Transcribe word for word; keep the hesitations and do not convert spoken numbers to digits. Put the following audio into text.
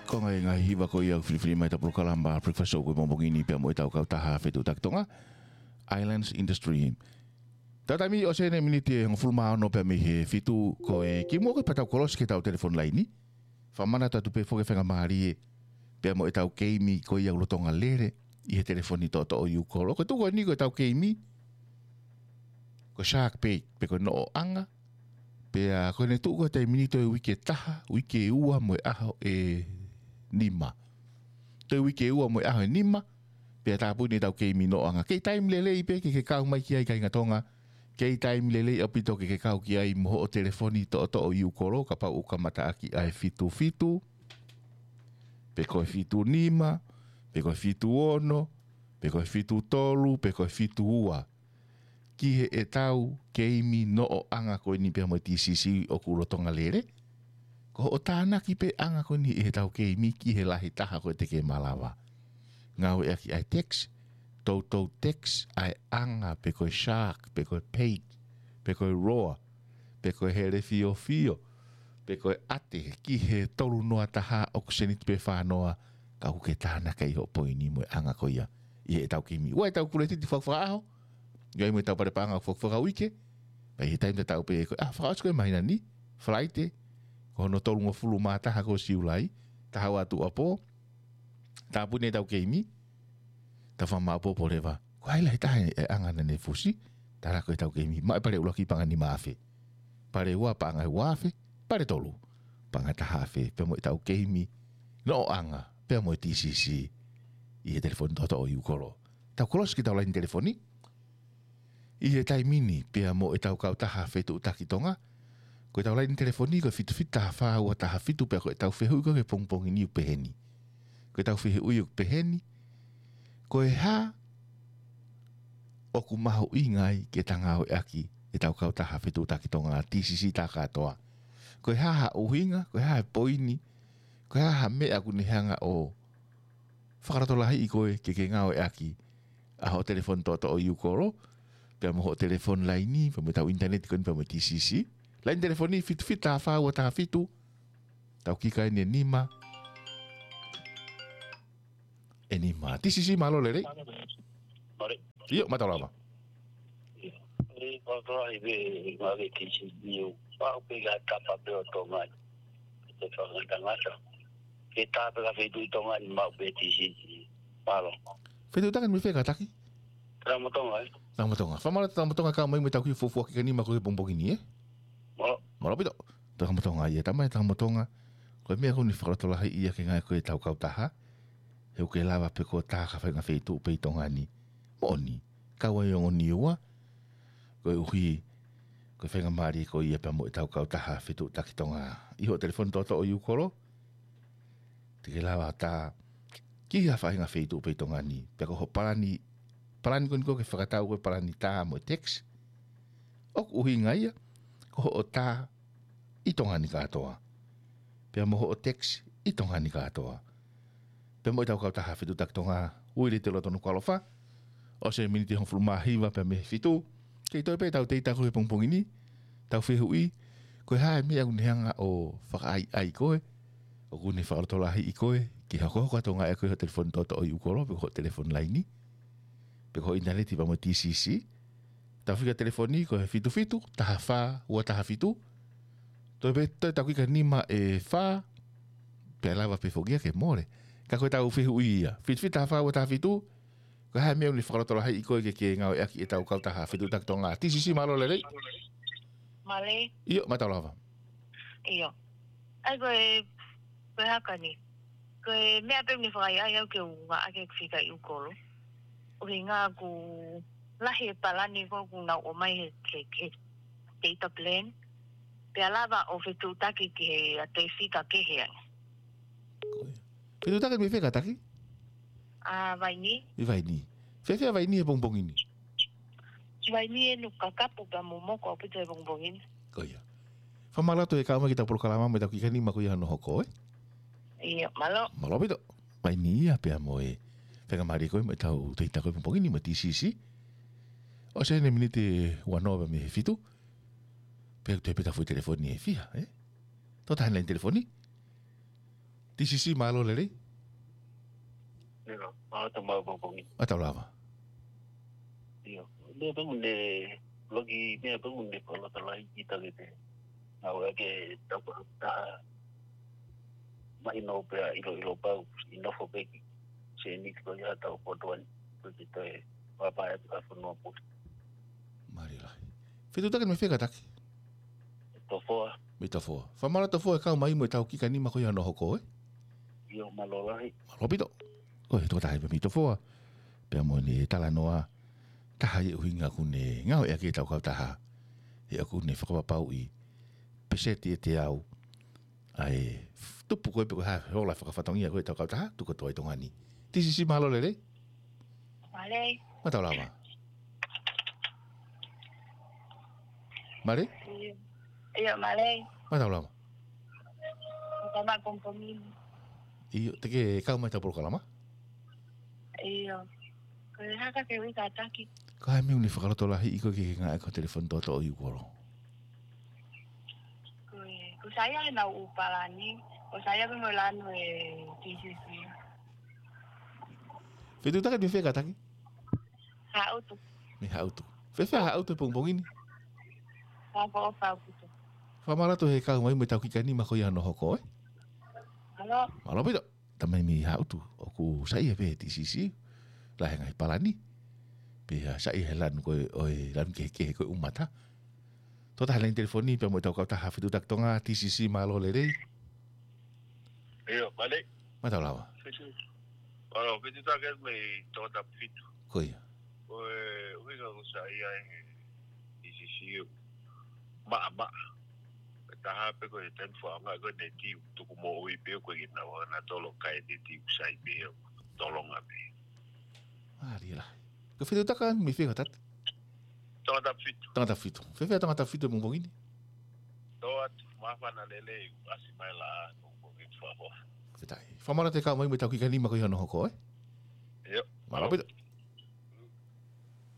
Ko e ngaahi hiva ko ia ʻoku filifilimai ʻetau polokalama Breakfast Show ko e pongipongi ni pea mo ʻetau kautaha Fetuʻutaki Tonga, Islands in the Stream. Tau taimi ʻosi ʻeni e miniti ʻe hongofulu mā ono pea mei he fitu, ko e kimuʻa ko ē pea tau kolosi ki heʻetau telefoni laini. Fakamanatu atu pē foki e faingamālie pea mo ʻetau keimi ko ia ʻoku lolotonga lele ʻi he telefoni toʻotoʻo ʻi ʻUkolo. Ko e tuʻu ko eni ko ʻetau keimi, ko e Shark Bait, pe ko e noʻoʻanga. Pea ko ʻene tuʻu ko ē he taimi ni toe uike ʻe taha, uike ʻe ua mo e ʻaho ʻe nima. Toe uike ʻe ua mo e ʻaho ʻe nima, pea tāpuni ʻetau keimi noʻoʻanga. Kei taimi lelei pē ke ke kau mai ki ai, kāinga Tonga. Kei taimi lelei ʻaupito ke ke kau ki ai mo hoʻo telefoni toʻotoʻo ʻi ʻUkolo, kapau ʻoku kamataʻaki ʻa e fitu fitu, pe ko e fitu nima, pe ko e fitu ono, pe ko e fitu tolu, pe ko e fitu ua. Ki heʻetau keimi noʻoʻanga ko eni pea mo e T C C ʻoku lolotonga lele. Ko hoʻo tānaki pē ʻanga ko eni ʻi heʻetau keimi ki he lahi taha ko ē te ke malava. Ngāueʻaki ʻa e text, toutou text ʻa e ʻanga, pe ko e shark, pe ko e bait, pe ko e lure, pe ko e hele fiofio, pe ko e ʻate ki he tolu noa taha ʻoku sēniti pē fā noa, ka ʻoku ke tānaki ai hoʻo poini mo e ʻanga ko ia ʻi heʻetau keimi. ʻOku ʻi ai ʻetau kuletiti fakafakaʻaho, ʻoku ʻi ai mo ʻetau pale paʻanga fakafakauike. Pea ʻi he taimi tatau pē ko e ʻaho fakaʻosi ko ē māhina ni, Falaite, ko hono tolungofulu mā taha ko Siulai, taha ua Tuʻapō, tāpuni ʻetau keimi, tau fakamāʻopoʻopo leva. Ko hai lahi taha e ʻanga naʻa ne fusi, tānaki ʻetau keimi, maʻu e pale ʻuluaki paʻanga nima afe. Pale ua paʻanga ua afe, pale tolu paʻanga taha afe, pea mo ʻetau keimi noʻoʻanga, pea mo e T C C, ʻi he telefoni toʻotoʻo ʻi ʻUkolo. Tau kolosi ki heʻetau laini telefoni ʻi he taimi ni, pea mo ʻetau kautaha Fetuʻutaki Tonga. Ko ʻetau laini telefoni ko e fitu fitu taha fā ua taha fitu, pea ko ʻetau fehuʻi ko ē he pongipongi ni ʻoku peheni. Ko ʻetau fehuʻi ʻoku peheni: Ko e hā ʻoku mahuʻinga ai ke ta ngāueʻaki ʻetau kautaha Fetuʻutaki Tonga, T C C tā kātoa? Ko e hā ha ʻuhinga, ko e hā e poini, ko e hā ha meʻa ʻoku ne hanga ʻo fakalotolahiʻi koe ke ke ngāueʻaki ʻa hoʻo telefoni toʻotoʻo ʻi ʻUkolo, pea mo hoʻo telefoni laini, pea mo ʻetau ʻinitaneti ko eni pea mo e T C C? Laini telefoni fitu fitu taha fā ua taha fitu, tau kika eni ʻe nima, ʻe nima. T C C, mālō e lelei. Mālō. ʻIo, mālō lava. ʻIo, ko e tō ai pē ngāue T C C, ʻo pau pē ka tapa pē ʻo Tonga ni. Ke fanga tangata. Ke tā pē ka Fetuʻutaki Tonga ni, maʻu pē T C C. Mālō. Fetuʻutaki ni mei fē kātaki? Tangata mo Tonga, ē? Tangata mo Tonga. Fakamālō Tangata mo Tonga, kau mai mo ʻetau kiʻi fuofua kikaniʻi mai ko ē he pongipongi ni, ē? Mālō. Mālō ʻaupito. Tangata mo Tonga, ʻio, tā mai Tangata mo Tonga. Ko e meʻa ko eni fakalotolahiʻi ia ke ngāueʻaki ʻe heʻetau kautaha, he ʻoku ke lava pē koe ʻo tā ki ha faʻahinga feituʻu pē ʻi Tonga ni. Moʻoni, kau ai ʻa e ongo Niua, koeʻuhi ko e faingamālie ko ia pea mo ʻetau kautaha Fetuʻutaki Tonga. ʻI hoʻo telefoni toʻotoʻo ʻi ʻUkolo, te ke lava ʻo tā ki ha faʻahinga feituʻu pē ʻi Tonga ni. Pea ko hoʻo palani, palani ko eni ʻoku ke fakatau ko e palani tā mo e text, ʻoku ʻuhinga ia ko hoʻo tā ʻi Tonga ni kātoa, pea mo hoʻo text ʻi Tonga ni kātoa. Pea mo ʻetau kautaha Fetuʻutaki Tonga, uili te loto nuku alofa. ʻOsi e miniti ʻe hongofulu mā hiva pea mei he fitu. Kei toe pē ʻetau teitako he pongipongi ni, ʻetau fehuʻi: Ko e hā e meʻa ʻoku ne hanga ʻo fakaʻaiʻai koe, ʻoku ne fakalotolahiʻi koe ke hokohoko atu ʻo ngāueʻaki hoʻo telefoni toʻotoʻo ʻi ʻUkolo, pe ko hoʻo telefoni laini, pe ko hoʻo ʻinitaneti pea mo e T C C? Tau fika telefoni ko e fitu fitu taha fā ua taha fitu. Toe pē, toe tau kika nima ʻe fā, pea lava pē foki ia ke mole. Ka ko ʻetau fehuʻi ia, fitu fitu taha fā ua taha fitu: Ko e hā e meʻa ʻoku ne fakalotolahiʻi koe ke ke ngāueʻaki ʻetau kautaha Fetuʻutaki Tonga? T C C, mālō e lelei. Mālō. ʻIo, mālō lava. ʻIo. ʻAi, ko e, ko e hā ka ni, ko e meʻa pē ʻoku ne fakaʻaiʻai au ke u ngāueʻaki e fika ʻi ʻUkolo. ʻUhinga ʻoku lahi e palani ko ē ʻoku nau ʻomai he, he, he data plan. Pea lava ʻo fetuʻutaki ki he ʻatu e fika kehe ange. Ko ia. Fetuʻutaki mei fē kātaki? ʻA Vaini. ʻI Vaini. Fēfē ʻa Vaini he pongipongi ni? Vaini ʻoku kakapu pea momoko ʻaupito he pongipongi ni. Ko ia. Fakamālō atu e kau mai ki heʻetau polokalama mo ʻetau kikaniʻi mai ko ia hono hoko, ē? ʻIo, mālō. Mālō ʻaupito. Vaini ia pea mo e faingamālie ko ē mo ʻetau teitako he pongipongi ni mo T C C. ʻOsi eni e miniti ʻe ua noa pea mei he fitu. Pea toe pē ʻetau foʻi telefoni ʻe fiha, ē? Tau tā eni e telefoni. T C C, mālō lelei. Nena, mālō atu mo e pongipongi. Mālō lava. Io, meʻa pē mo ʻene, loki meʻa pē mo ʻene fakalotolahi ki he tangata. Naʻa ʻoku ʻikai ke tau ka ta. Mahino pē ʻa e ʻiloʻilo pau, ʻi he nofo pē ki he sēniti ko ia ʻetau potu ni. Ko e toe, papa e ka fonua poti. Mālō lahi. Fetuʻutaki mei fē kātaki? Tofoa. Mei Tofoa. Fakamālō Tofoa he kau mai mo e tau kika nima ko ia hono hoko, ē? ʻIo, mālō lahi. Mālō ʻaupito. Ko e tokotaha ia mei Tofoa. Pea mo ʻene talanoa, taha ia ʻuhinga ʻoku ne ngāueʻaki ʻetau kautaha. He ʻoku ne fakapapauʻi peseti ʻe teau ʻa e tupu ko ē pe ko e hā e ola fakafatongia ko ē ʻetau kautaha, tuku atu ai Tonga ni. T C C, mālō lelei. Mālō. Mālō lava. Mālō. ʻIo, mālō. Mālō lava. Mālō pongipongi. ʻIo, te ke kau mai ʻetau polokalama? ʻIo. Ko e hā ka ke ui kātaki? Ko hai meʻa ʻoku ne fakalotolahiʻi koe ke ke ngāueʻaki ho telefoni toʻotoʻo ʻi he kolo? Ko e, ʻoku ou saiʻia he naʻa ku palani, ʻoku ou saiʻia pē mo e lanu ʻa e T C C. Fetuʻutaki mei fē kātaki? Haʻutu. Mei Haʻutu. Fēfē Haʻutu he pongipongi ni? Fakaʻofoʻofa ʻaupito. Fakamālō atu he kau mai mo e tau kika nima ko ia hono hoko, ē? Mālō. Mālō ʻaupito. Tamai mei Haʻutu, ʻoku saiʻia pē he T C C, lahi e ngaahi palani. Pea saiʻia he lanu ko ē, ʻo e lanu kehekehe ko ē ʻumata. Tokotaha laine telefoni pea mo ʻetau kautaha Fetuʻutaki Tonga, T C C, mālō lelei. ʻIo, mālō. Mālō lava. Fetu-, mālō, Fetuʻutaki mei Tongatapu fitu. Ko ia. Ko e ʻuhinga ʻoku ou saiʻia ai he T C C ʻoku maʻamaʻa. Ko e taha pē ko e taimi fakaʻaongaʻi ko ē ʻene tiu, tuku moʻui pē ko e kinaua naʻa tolo kai ʻene tiu sai pē ʻo tolonga pē. Mālie lahi. Ko e Fetuʻutaki mei fē kātaki? Tongatapu fitu. Tongatapu fitu. Fēfē Tongatapu fitu he pongipongi ni? Tō atu, māfana lelei, ʻasi mai la, pongipongi fakaʻofoʻofa. Fakafetaʻi. Fakamālō atu he kau mai mo e tau kika nima ko ia hono hoko, ē? ʻIo. Mālō ʻaupito.